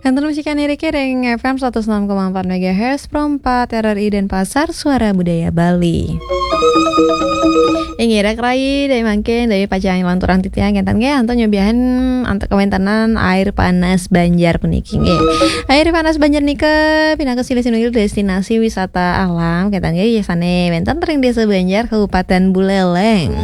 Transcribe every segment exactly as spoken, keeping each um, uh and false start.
Terus musikan niki ring F M seratus enam koma empat megahertz, Pro empat R R I Denpasar, Suara Budaya Bali. Inggih, raka rai, dari mangkin, dari pacang lanturang titiang, kenten nggih, antuk nyobiahan antuk kawéntenan Air Panas Banjar puniki nggih. Air Panas Banjar nika pinaka silih sinunggil destinasi wisata alam, kenten nggih, sané wénten ring Désa Banjar, Kabupaten Buleleng.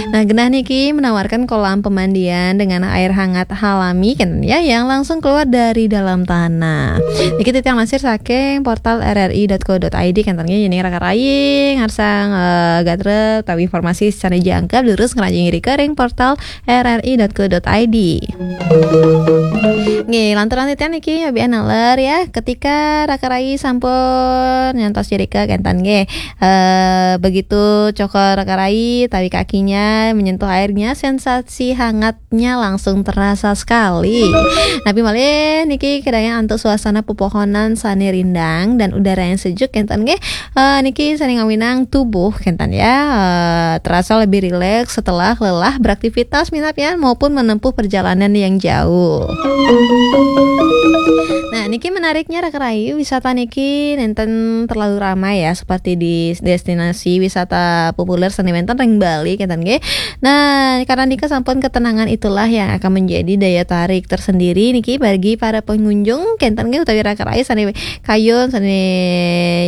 Nah, genah niki menawarkan kolam pemandian dengan air hangat alami, kenten ya, yang langsung keluar dari dalam tanah. Niki titiang lansir saking portal R R I dot co dot I D, kenten nggih, yén raka rai ngarsang, eh, gatra utawi informasi sané jangkep, durus ngranjing irika ring portal R R I dot co dot I D. Nggih, lanturang titiang niki nyobiahan naler ya, ketika raka rai sampun nyantos irika, kenten nggih. Eh, begitu cokor raka rai utawi kakinya menyentuh airnya, sensasi hangatnya langsung terasa sekali. Napi malih niki kadayang antuk suasana pepohonan sané rindang dan udara yang sejuk, kenten nggih. Eh, niki sané ngawinang tubuh, kenten ya, eh, terasa lebih rileks setelah lelah beraktivitas, minab ya, maupun menempuh perjalanan yang jauh. Nah, niki menariknya raka rai, wisata niki nénten terlalu ramai ya, seperti di destinasi wisata populer sané wénten ring Bali, kenten nggih. Nah, karena nika sampun ketenangan itulah yang akan menjadi daya tarik tersendiri niki bagi para pengunjung, kenten nggih, utawi raka rai sané kayun, sané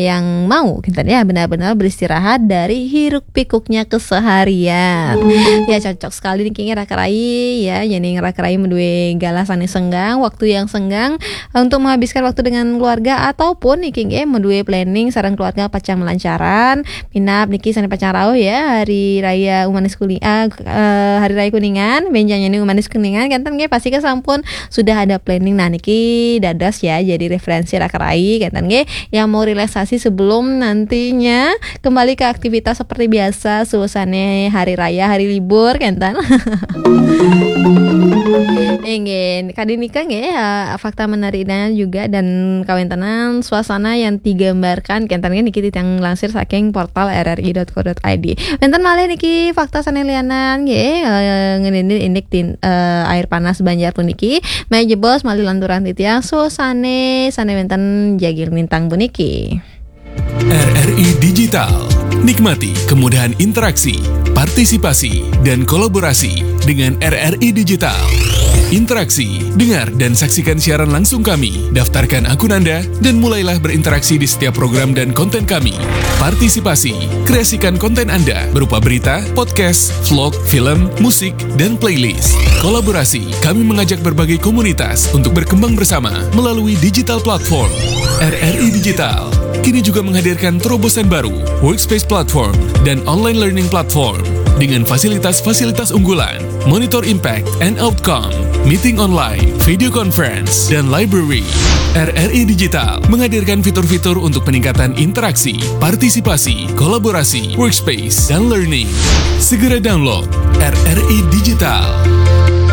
yang mau, kenten ya, benar-benar beristirahat dari hiruk pikuknya keseharian. Ya, cocok sekali niki nggih raka rai ya, yén raka rai madué galah sané senggang, waktu yang senggang untuk menghabiskan waktu dengan keluarga, ataupun niki nggih madué planning sareng keluarga pacang melancaran, minab niki sané pacang rauh ya, Hari Raya Umanis Kuningan, eh, Hari Raya Kuningan, bénjang niki Umanis Kuningan, kenten nggih, pastika sampun sudah ada planning. Nah, niki dados ya jadi referensi raka rai, kenten nggih, yang mau relaksasi sebelum nantinya kembali ke aktivitas seperti biasa, suasana hari raya, hari libur, kenten. Inggih, kadi nika nggih, eh, fakta menariknya juga dan kawéntenan suasana yang digambarkan, kenten nggih, niki titiang lansir saking portal R R I dot co dot I D. Wénten malih niki fakta sané lianan nggih, eh, ngeninin indik tin-, eh, Air Panas Banjar puniki. Malih jebos malih lanturang titiang suasana sané wénten jagi lintang puniki. R R I Digital. Nikmati kemudahan interaksi, partisipasi, dan kolaborasi dengan R R I Digital. Interaksi, dengar dan saksikan siaran langsung kami, daftarkan akun Anda, dan mulailah berinteraksi di setiap program dan konten kami. Partisipasi, kreasikan konten Anda berupa berita, podcast, vlog, film, musik, dan playlist. Kolaborasi, kami mengajak berbagai komunitas untuk berkembang bersama melalui digital platform. R R I Digital kini juga menghadirkan terobosan baru, Workspace Platform dan Online Learning Platform, dengan fasilitas-fasilitas unggulan, monitor impact and outcome, meeting online, video conference, dan library. R R I Digital menghadirkan fitur-fitur untuk peningkatan interaksi, partisipasi, kolaborasi, workspace, dan learning. Segera download R R I Digital.